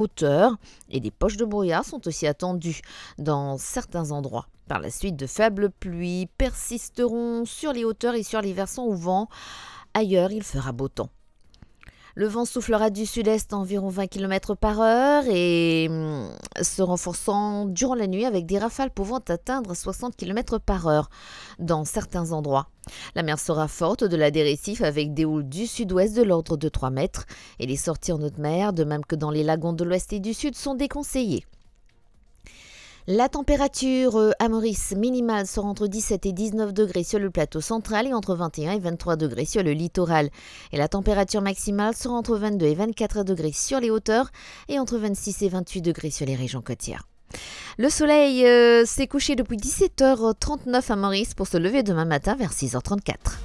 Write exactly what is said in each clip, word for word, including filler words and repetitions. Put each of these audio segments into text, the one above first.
hauteur et des poches de brouillard sont aussi attendues dans certains endroits. Par la suite, de faibles pluies persisteront sur les hauteurs et sur les versants au vent. Ailleurs, il fera beau temps. Le vent soufflera du sud-est à environ vingt kilomètres par heure et, hum, se renforçant durant la nuit avec des rafales pouvant atteindre soixante kilomètres par heure dans certains endroits. La mer sera forte au-delà des récifs avec des houles du sud-ouest de l'ordre de trois mètres et les sorties en haute mer, de même que dans les lagons de l'ouest et du sud, sont déconseillées. La température, euh, à Maurice minimale sera entre dix-sept et dix-neuf degrés sur le plateau central et entre vingt et un et vingt-trois degrés sur le littoral. Et la température maximale sera entre vingt-deux et vingt-quatre degrés sur les hauteurs et entre vingt-six et vingt-huit degrés sur les régions côtières. Le soleil, euh, s'est couché depuis dix-sept heures trente-neuf à Maurice pour se lever demain matin vers six heures trente-quatre.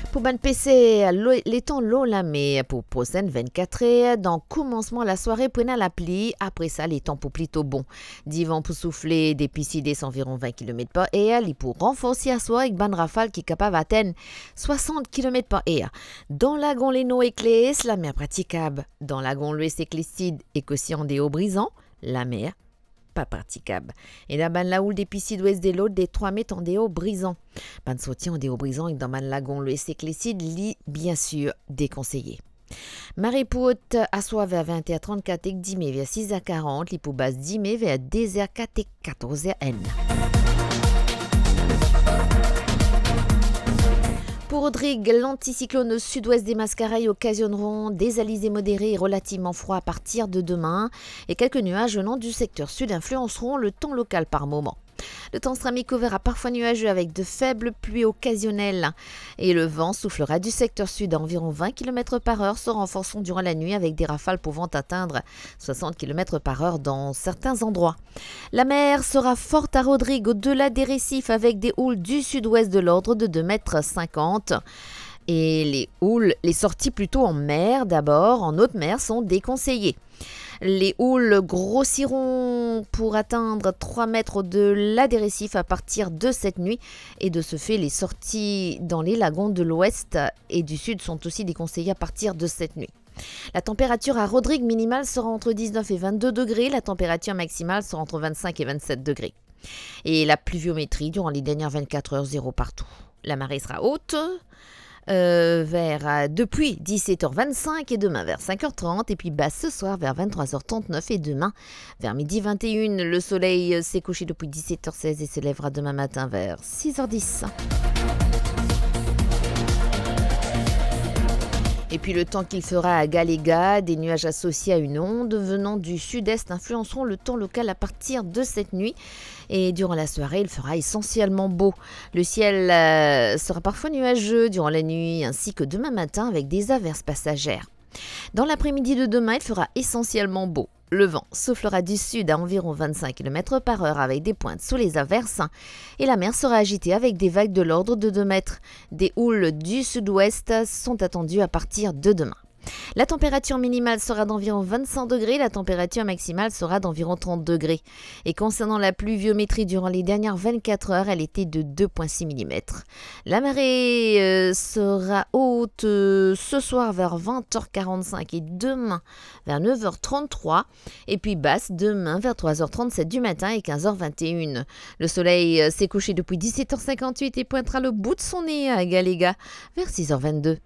Pou bann peser, lo-, letan lor lame pou prosenn vennkat er, dan koumansman lasware pou ena lapli, apre sa letan pou plito bon. Divan pou soufle depi sid-est anviron vin kilomet par er, li pou ranforsi aswar ek bann rafal ki kapav atenn swasant kilomet par er. Dan lagon Lenor ek Les, lamer pratikab. Dan lagon Lwes ek Lesid ek osi andeor Brizan, lamer pa pratikab. Ena bann laoul depi sid-wes de lot de trwa met andeor Brizan. Bann sorti andeor Brizan ek dan bann lagon Lwes ek Lesid, li, bien sir, dekonseye. Mare pou ot aswar ver vin er trannkat ek dime ver sis er karant, li pou bas dime ver de er kat ek katorz er enn. Pour Rodrig, l'anticyclone au sud-ouest des Mascareilles occasionneront des alizés modérés et relativement froids à partir de demain, et quelques nuages venant du secteur sud influenceront le temps local par moments. Le temps sera mi-couvert à parfois nuageux avec de faibles pluies occasionnelles et le vent soufflera du secteur sud à environ vingt kilomètres par heure, se renforçant durant la nuit avec des rafales pouvant atteindre soixante kilomètres par heure dans certains endroits. La mer sera forte à Rodrig, au-delà des récifs, avec des houles du sud-ouest de l'ordre de deux mètres cinquante. Et les houles, les sorties plutôt en mer d'abord, en haute mer, sont déconseillées. Les houles grossiront pour atteindre trois mètres au-delà des récifs à partir de cette nuit et de ce fait, les sorties dans les lagons de l'ouest et du sud sont aussi déconseillées à partir de cette nuit. La température à Rodrig minimale sera entre dix-neuf et vingt-deux degrés, la température maximale sera entre vingt-cinq et vingt-sept degrés. Et la pluviométrie durant les dernières vingt-quatre heures, zéro partout. La marée sera haute, euh, vers, euh, depuis dix-sept heures vingt-cinq et demain vers cinq heures trente, et puis basse ce soir vers vingt-trois heures trente-neuf et demain vers midi vingt et une. Le soleil, euh, s'est couché depuis dix-sept heures seize et se lèvera demain matin vers six heures dix. Et puis le temps qu'il fera à Galléga, des nuages associés à une onde venant du sud-est influenceront le temps local à partir de cette nuit. Et durant la soirée, il fera essentiellement beau. Le ciel, euh, sera parfois nuageux durant la nuit ainsi que demain matin avec des averses passagères. Dans l'après-midi de demain, il fera essentiellement beau. Le vent soufflera du sud à environ vingt-cinq kilomètres par heure avec des pointes sous les averses et la mer sera agitée avec des vagues de l'ordre de deux mètres. Des houles du sud-ouest sont attendues à partir de demain. La température minimale sera d'environ vingt-cinq degrés, la température maximale sera d'environ trente degrés. Et concernant la pluviométrie durant les dernières vingt-quatre heures, elle était de deux point six millimètres. La marée, euh, sera haute, euh, ce soir vers vingt heures quarante-cinq et demain vers neuf heures trente-trois, et puis basse demain vers trois heures trente-sept du matin et quinze heures vingt et une. Le soleil, euh, s'est couché depuis dix-sept heures cinquante-huit et pointera le bout de son nez à Galléga vers six heures vingt-deux.